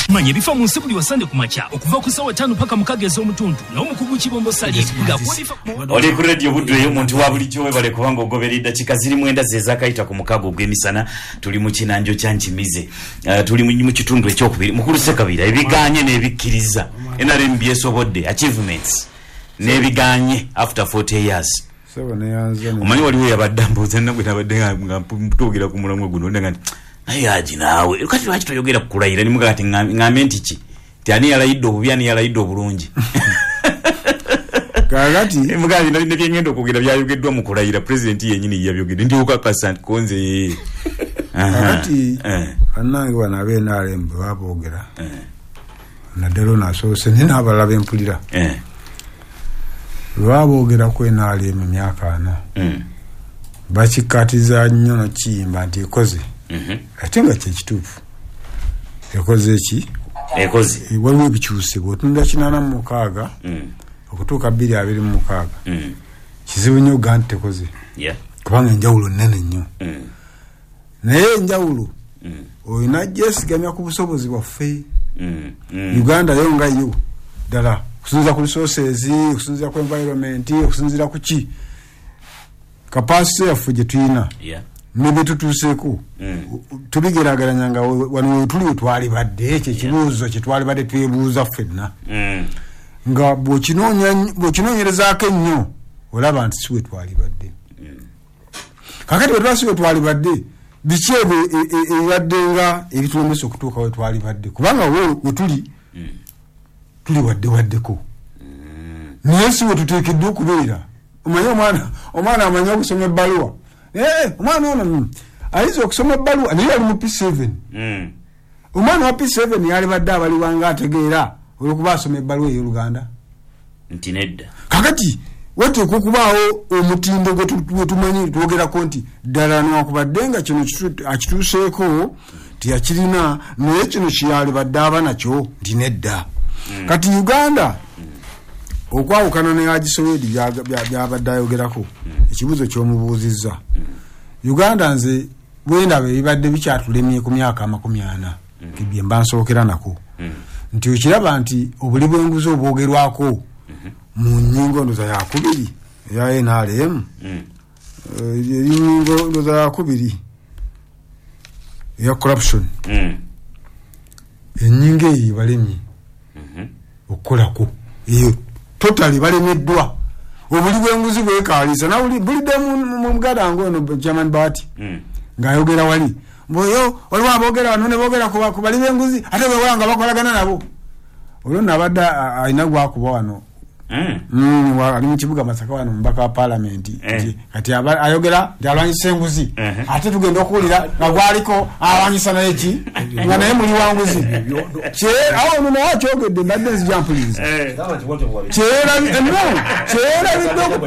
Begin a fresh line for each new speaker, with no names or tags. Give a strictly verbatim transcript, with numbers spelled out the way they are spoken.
Manya ebifa mu nsi buli wa Sande ku makya okuva ku ssaawa ttaano paka mukaaga ez'omutundu n'omukugu Kibombo Salim ng'akuwa.
Oli ku Radio Buddu eyo omuntu wa bulijjo, webale kubanga ogoberera. Eddakiika ziri mwenda ze zaakayita ku mukaaga ogw'emisana. Tuli mu kinanjo kya Nkimize. Uh, tuli mu mu kitundu ekyokubiri. Mukulu Sekabira, ebiganye n'ebikkiriza N R M byesobodde, achievements n'ebiganye after forty years.
Sebo, neyanza ne-
Omanyi waliwo yabadde ambuuza nabwe, nabadde nga nga twogera ku mulamwa guno, nga nti naye aji naawe kati lwaki toyogera ku kulayira? Nimugaa ti ŋŋambye nti ki, nti ani yalayidde obubi, ani yalayidde obulungi?
Kakati
Mugaa ne byengenda okwogera byayogeddwa mu kulayira, pulezidenti yenyini yabyogedde, nti okakasa nti konze.
Kakati
Eh,
bannange bano ab'N R M bwe baboogera, naddala ono asoose naye n'abalala bempulira,
eh,
bwe baboogera ku N R M emyaka ana,
mm,
bakikkaatiza nnyo nokiyimba nti ekoze,
mhm.
ate nga kyekituufu, ekoze eki?
Ekoze.
Eh, waliwo ebikyuse. Bw'otunula kinaana mu mukaaga
Mm,
okutuuka bbiri abiri mu mukaaga,
mm,
kizibu nnyo okugaa nti tekoze,
yeah,
kubanga enjawulo nnene nnyo.
mm,
Naye enjawulo
mm,
olina gyesigamya ku busobozi bwaffe.
mm, mm.
Uganda yo nga yo ddala, okusinziira ku resources, okusinziira ku environment, okusinziira ku ki, capacity yaffe gye tulina
Yeah.
ne bye tutuuseeko,
Mm.
tubigeraageranya nga we- wano wetuli wetwali badde. Ekyo ekibuuzo kyetwali badde twebuuza ffenna,
Mm.
nga bw'okinoonya- bw'okinoonyerezaako ennyo, olaba nti si wetwali badde. Kakati bwe tuba si wetwali badde, biki ebyo e- e- ebibadde nga ebitulemesa okutuuka wetwali badde? Kubanga we wetuli tuli wadde waddeko, naye si wetuteekeddwa okubeera. Omanye omwana omwana amanyi okusoma ebbaluwa. Eh, omwana ono mm, ayinza okusoma ebbaluwa naye ali mu P seven.
Mm.
Omwana wa P seven yalibadde abalibwanga ategeera olwokuba asoma ebbaluwa ey'Oluganda?
Nti nedda.
Kakati wateekwa okubaawo omutindo gwe tu- gwe tumanyi twogerako nti ddala newankubadde nga kino kitu- akituuseeko teyakirina, naye kino kyeyalibadde aba nakyo nti nedda. Kati Uganda okwawukana ne Agisowedi byabadde ayogerako, ekibuuzo kyomubuuzizza, Uganda nze bwendaba ebibadde bikyatulemye ku myaka amakumi ana bye mba nsookera nako, nti okiraba nti obuli bw'enguzi obwogerwako mu nyingo ndoza yakubiri eya N R M,
Mm.
enyingo ndoza yakubiri eya corruption,
Mm.
enyingo eyo ebalemye
Mhm.
okukolako eyo totally balemeddwa. Obuli bw'enguzi bwekaliisa bulidde mu muganda wange ono German Bat
Mm.
ng'ayogera wali mboyo, waliwo aboogera wano ne boogera ku ba- ku bali b'enguzi, ate bwewala nga bakolagana nabo. Olwo nabadde a- alina gwakuba wano.
Mm.
Mm, wa- ali mu kibuga Masaka wano, mubaka wa palamenti.
Eh.
Nti kati aba- ayogera nti alwanyisa enguzi,
Mhm.
ate tugenda okuwulira nga gwaliko alwanyisa naye ki, nga naye muli wanguzi. Kye- awo ono naye akyogedde, mbadde nzija mpuliriza.
Eh.
Kyerabi- no, kyerabidde oku-